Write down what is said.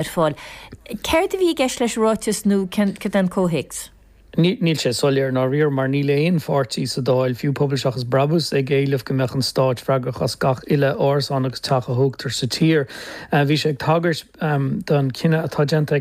Ar fáil. Céard a bhí i gceist leis an ráiteas nó cad é an comhthéacs? Níl sé soiléir i ndáiríre mar níl aon pháirtí sa Dáil, fiú Pobal Seachas Brabús, ag éileamh go mbeadh an stáit freagrach as gach uile árasán agus teach a thógtar sa tír. Bhí sé ag tagairt don chinneadh atá déanta ag.